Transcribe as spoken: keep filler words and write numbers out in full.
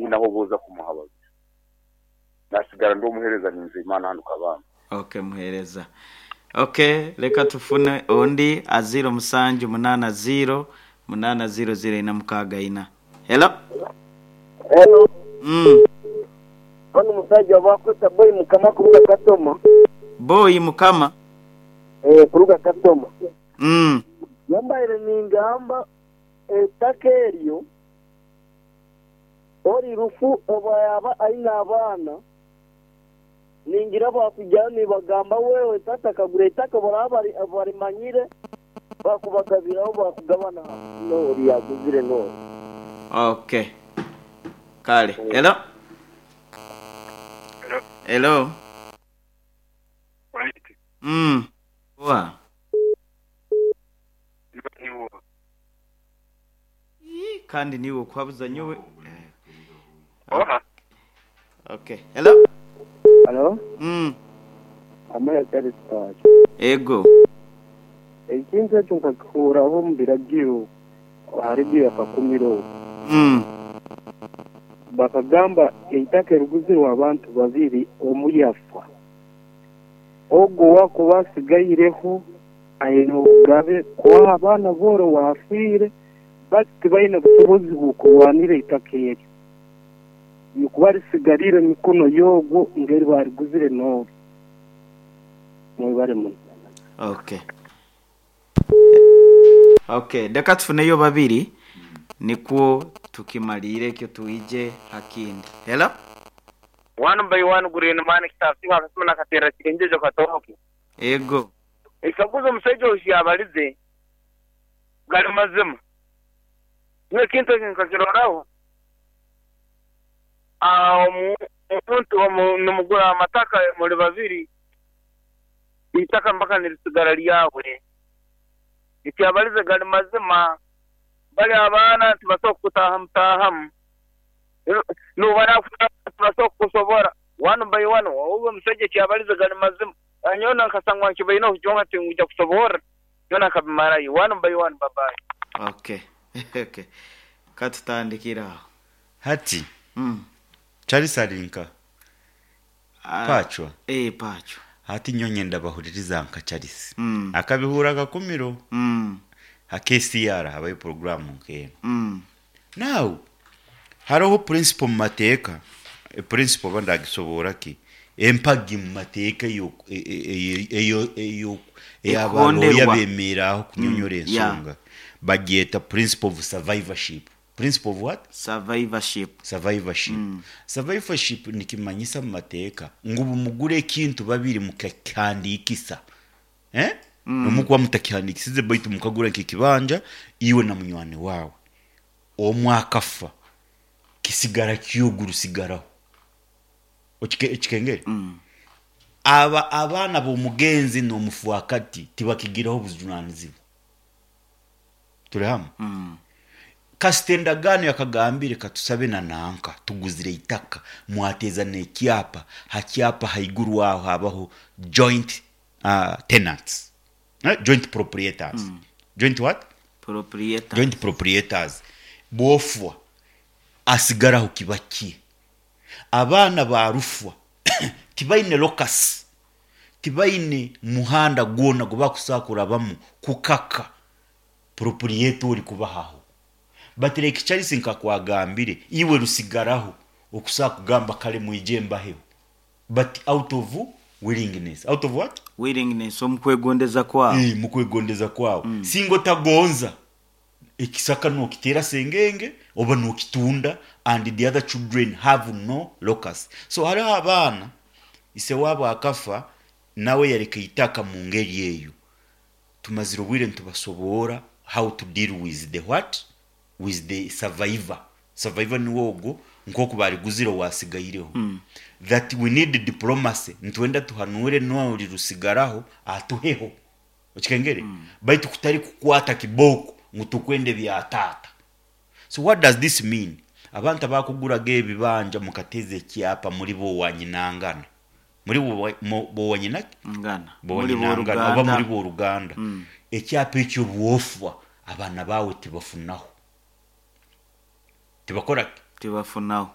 Tiinaho boza kumuhabaza, nasigara ndi omuhereza ninze Imana hano kabamba. Okay, muhereza. Okay, reka tufune undi a zero musanju munana zero munana zero zero ina mukaga ina. Hello. Hello. Mm. Ono musajja bakweta Boy Mukama kuruga Katoma. Boy Mukama. Eh, kuruga Katoma. Mm. Yambaire ningamba ettaka eryo ori rufu oba yaba aine abaana, ningira bakujyayo nibagamba wewe tata kagura ettaka, baraba barimanyire bakubagabiraho, bakugabana nori yaguzire nori. Okay, kale. Hello, hello. Right. Mm. Wa Niwo. Kandi niwe okwabuza nyowe. Oha. Okay, hello. Halo. Mm. Amaya Charles. Ego. Ekintu ekyo nkakikuraho omu biragiro hari ibyo yakakumiro. Mm. Bakagamba eitaka eriguzirwe abantu babiri, omu yafa, ogwo wakuba asigaireho aine obugabe kubaha abaana booro wafiire, bati tibaine busobozi bw'okurwanira eitaka eryo nikuba risigarire mikono y'ogwo ngeri bariguzire n'obu. Mwebare muno. Okay okay reka tufuneyo babiri nikwo tukimalire ekyo tuije hakindi. Hello. One by one, green man kitafika akasema nakatera kirenjejo katoke. Ego. Ekaguza omusajja oyo yabalize gali mazima. Niwe kintu ekyo nkakiroraho. Ah, omu- omuntu omu- nimugura amataka muri babiri, itaka mpaka nirisigara lyawe. Ekyabalize gali mazima, bali abaana tibasobola kutaha mutahamu, nubara tibasobola kukusobora one by one. Ogwo omusajja ekyabalize gali mazima, anyona nkasangwa nkibaine okujonga tinguja kusobora yona akabimarayo one by one. Babayi. okay okay katutandikira aho. Hati mm. Charles arinka Ah, pacwa. Eh, pacwa. Hati nyonye ndabahuririza nka Charles Mm. akabihura akakumiro Mm. ha K C R habayo porogaramu nk'eno. Mm. Now hariho principle mu mateeka, e principle oba ndagisobora ki, empagi mu mateeka eyo eyo eyo eyo ey'abaloya Ekonderwa. Bemeraaho kunyonyora Mm, yeah. ensonga bagyeta principle of survivorship. Principle of what? Survivorship. Survivorship. mm. Survivorship nikimanyisa mu mateeka ngu bumugure ekintu babiri mukakihandikisa, eh? mm. nomukuba mutakihandikisize, baitu mukagura nk'ekibanja iwe na munywani wawe, omwe akafa, kisigara kyogu rusigaraho. Okike- ekikengere mm. aba abaana b'omugenzi n'omufuakati tibakigiraho obujunanizibwa. Turi hamwe? Mm. Kasita endagaano yakagambire katusabe na nanka tuguzire itaka, mwateza n'ekyapa, hakyapa haiguru aho habaho joint uh, tenants, eh? Joint proprietors. mm. Joint what? Proprietor. Joint proprietors. Bwofwa asigaraho kiba kye. Abaana ba rufwa tibaine locus, tibaine muhanda gwona gwe bakusakurabamu kukaka proprietor ori kubahaho. Batereka Charles nkakwagambire iwe rusigaraho okusaa kugamba kale mwije mbaheho, but out of willingness. Out of what? Willingness, omukwegondeza kwawo. Eh, mukwegondeza kwawe. mm. Singa otagonza ekisaka nokitera sengenge oba nokitunda, and the other children have no locus. So hariho abaana ise waabo akafa nawe yareka itaka mu ngeri eyo. Tumazire obwire nitubasoboora how to deal with the what, with the survivor. Survivor niwe ogwo nkoku bariguzire wasigaireho. mm. That we need diplomacy, nitwenda tuhanure nori rusigaraho atuheho. Okikengere? mm. Baitu kutari kukwata kiboko ngu tukwende bya tata. So what does this mean? Abantu abakuguraga ebibanja mukateza ekyapa muri bo wanyinangana, muri bo mo- bo wanyina ngana muri bowanyinangana oba muri boruganda. Boruganda. Mm. Ekyapa ekyo bwofwa abaana bawe tibafunaho, tibakora Tibafunaho.